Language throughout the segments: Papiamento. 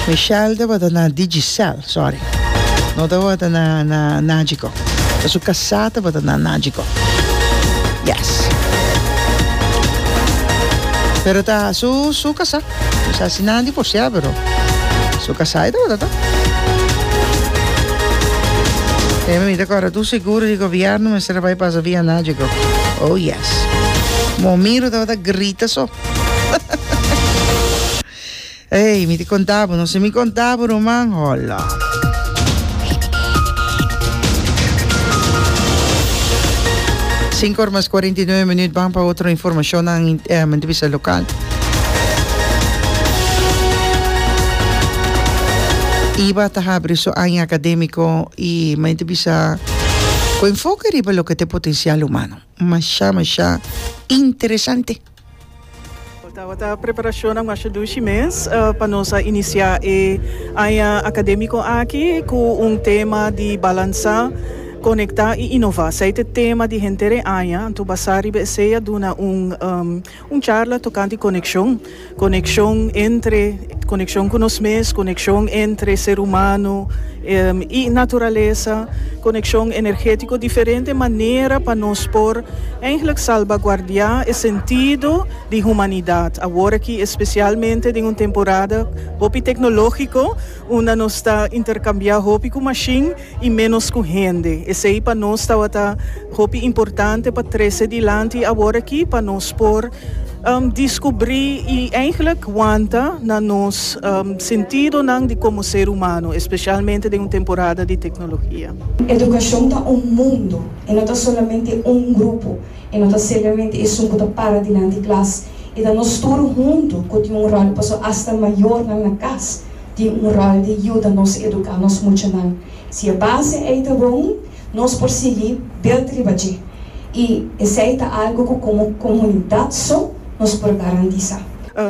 Michelle tabata na Digicel, sorry. No tabata na na Nagico. Ta su kasá tabata na Nagico. Yes. Pero ta su su kasá. No sa si nan a divorciá, pero su kasá e tabata ta. E mi ta kòrda tur seguro di gobièrnu mester a bai pasa via Nagico. Oh yes. Momiro tabata grita so. Ey, mi ta konta bo, no si mi konta bo ruman, hola. Sinku or mas 49 minuut ban pa otro informashonnan eh, mi ta bisa lokal. Iba ta habri su aña akadémiko i mi ta bisa ku enfoke riba loke ta e potensial humano. Masha masha interesante. Tabata preparashonnan masha dushi mes pa nos a inisiá e aña akadémiko aki ku un tema di balansá, konektá i inová. Esei ta e tema di henter e aña. Anto basá riba esei a duna un un charla tokante konekshon. Konekshon entre, konekshon ku nos mes, konekshon entre ser humano i naturalesa, konekshon energétiko, diferente manera pa nos por Eigenlijk salbaguardiá e sentido di humanidat awor aki, espesialmente den un temporada hopi teknológiko unda nos ta interkambiá hopi ku mashin i ménos ku hende. Esei pa nos tabata hopi importante pa trese dilanti awor aki pa nos por diskubrí i eigenlijk wanta na nos sentidonan di komo ser humano, espesialmente den un temporada di teknologia. Edukashon ta un mundu. E no ta solamente un grupo, e no ta simplemente esun ku ta para dilanti klas. E ta nos tur huntu ku tin un ròl, pasobra asta mayornan na kas tin un ròl di yuda nos eduká nos muchanan. Si e base ei ta bon, nos por sigui build riba dje. I esei ta algu ku komo komunidat so nos por garantisá.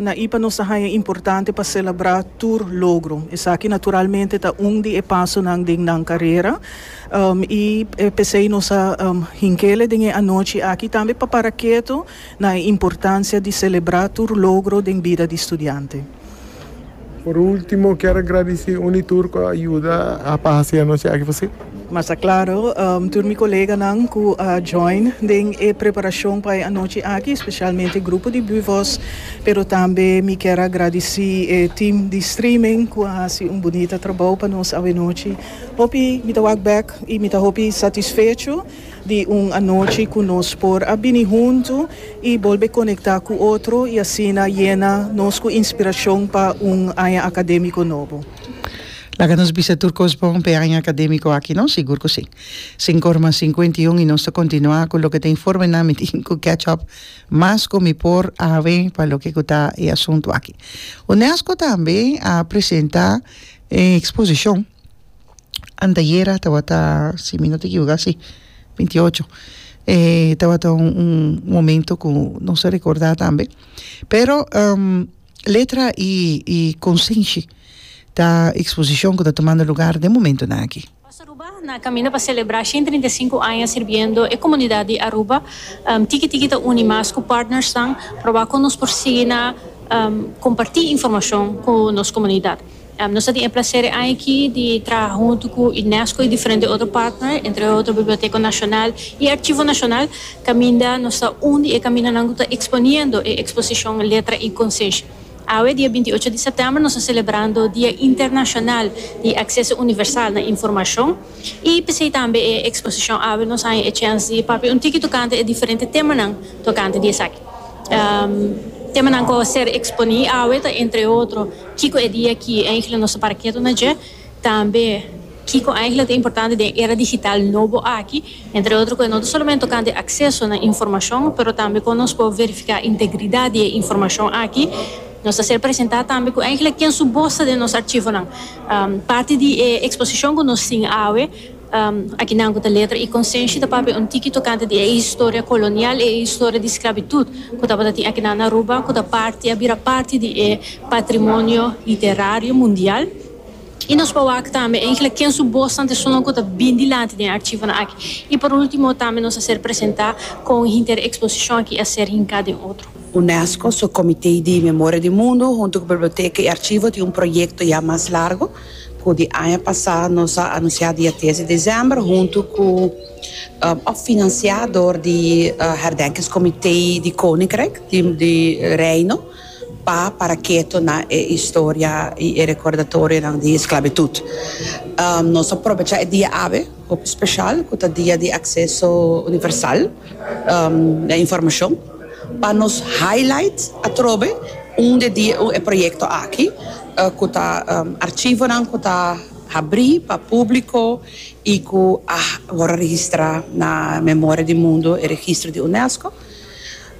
Na ipa nos ta haña importante pa selebrá tur logro. Esaki naturalmente ta un di e pasonan den nan karera. I p'esei nos a hink'ele den e anochi aki tambe pa para ketu na e importansia di selebrá tur logro den bida di studiante. Por último, kier a gradisí un i tur ku a yuda pa hasi e anochi aki posibel. Mas ta klaro, tur mi koleganan ku a join den e preparashon pa e anochi aki, spesialmente grupo di Buvos, pero tambe mi kier a gradisí e team di streaming ku a hasi un bunita trabou pa nos awenochi. Hopi mi ta wak bek i mi ta hopi satisfecho di un anochi ku nos por a bini huntu i bolbe konektá ku otro i asina yena nos ku inspirashon pa un aña akadémiko nobo. Laga nos bisa tur kos bon p'e aña akadémiko aki, no? Sigur ku si. Sinkor mas 51 i nos ta kontinuá ku loke ta informenan. Mi tin ku catch up mas ku mi por awe pa loke ku ta e asuntu aki. Unesco tambe a presentá e eksposishon. Antayera tabata, si mi no ta ekivoká, si, 28. E tabata un un momento ku nos a rekordá tambe. Pero letra i i konsenshi ta eksposishon ku ta tumando lugar den momentonan aki. Post Aruba na caminda pa celebra 135 aña sirbiendo e comunidad di Aruba. Tiki tiki ta uni mas cu partnersnan proba con nos por sigui na comparti informacion cu nos comunidad. Nos ta tin e placer e aña aki di traha huntu cu UNESCO y diferente otro partner, entre otro Biblioteca Nacional y Archivo Nacional, caminda nos ta un di e camindanan cu ta exponiendo e exposicion Letra y Conscientia. Awe, dia 28 di september, nos ta celebrando Dia Internacional di Acceso Universal na Informacion y p'esey tambe e exposicion awe nos haña e chens di papia un tiki tocante e diferente temanan tocante di esaki. Temanan cu a ser exponi awe ta entre otro, Kiko e dia ki eigenlijk nos ta para ketu na dje? Tambe, kiko eigenlijk ta importante den era digital nobo aki? Entre otro ku e no ta solamente tokante akseso na informashon, pero tambe kon nos por verifiká integridat di e informashon aki. Nos ta ser presentá tambe ku eigenlijk ken su bos ta den nos archivonan. Parti di e eksposishon ku nos tin awe, Akinan ku ta letra i konsenshi ta papia un tiki tokante di e historia kolonial i e historia di sklabitut ku tabata tin akinan na Aruba ku ta parti a bira parti di e patrimonio literario mundial. I nos por wak tambe eigentlik ken su bosnan ta esunnan ku ta bin dilanti den e archivonan aki. I por ultimo tambe nos a ser presentá kon hinter e eksposishon aki a ser hinká den otro. Unesco su Comité di Memoria di Mundo hunto cu Biblioteca y Archivo tin un proyecto ya mas largo cu di aña pasa nos a anuncia dia tres di december hunto cu of financia door di Herdenkingscomité di Koninkrijk di Reino pa para keto na e historia y e recordatorionan di esclavitud. Nos a probecha e dia awe hopi special cu ta dia di acceso universal na informacion pa nos highlight atrobe un di e proyecto aki cu ta archivonan cu ta habri pa publico y cu a worde registra na Memoria di Mundo e registro di Unesco.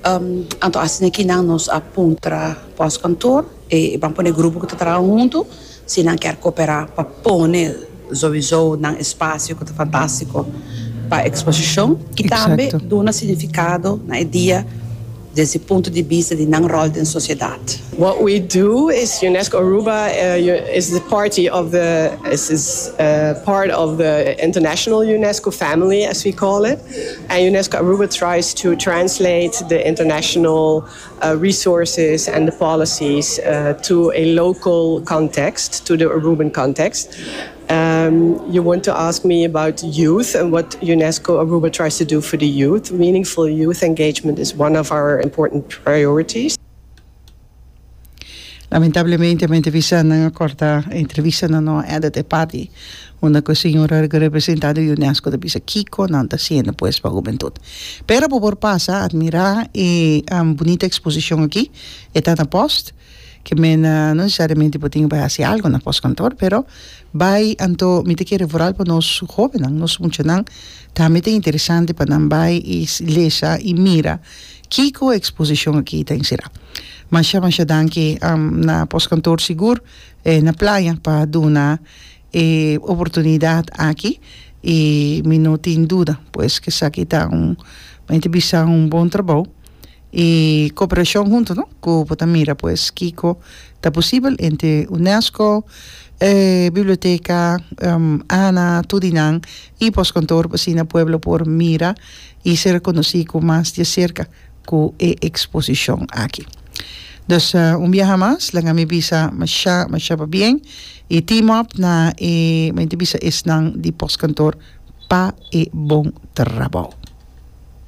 Anto asina ki nan nos a puntra postkantoor e ban pone grupo ku ta traha huntu si nan kier koperá pa pone souiso nan espasio ku ta fantástiko pa eksposishon i tambe duna signifikado na e dia desde punto di bista di nan ròl den sosiedat. What we do is UNESCO Aruba is the party of the is is part of the international UNESCO family as we call it. And UNESCO Aruba tries to translate the international resources and the policies to a local context, to the Aruban context. Um, you want to ask me about youth and what UNESCO Aruba tries to do for the youth. Meaningful youth engagement is one of our important priorities. Lamentablemente mi entrevista nan a corta entrevista nan no a edit e parti unda cu e señora cu representa di UNESCO ta bisa kico nan ta haciendo pues pa hubentud. Pero bo por pasa admira e bunita exposicion aki, e ta na post, ke men no necesariamente bo tin cu bay haci algo na postkantoor pero bay anto mi ta kere vooral pa nos hobennan, nos muchanan tambe ta interesante pa nan bay y lesa y mira Kiko e eksposishon aki ta enserá? Masha masha danki na Postkantoor sigur na Playa pa duna e oportunidat aki i mi no tin duda pues ku esaki ta un mi ta bisa un bon trabou i koperashon huntu no ku bo ta mira pues kiko ta posibel entre Unesco, e biblioteka, ana, tur di nan i Postkantoor pa asina pueblo por mira i ser konosí ku mas di aserka ku e eksposishon aki. Dus un biaha mas laga mi bisa masha masha pabien i team up na e mi ta bisa esnan di postkantoor pa e bon trabou.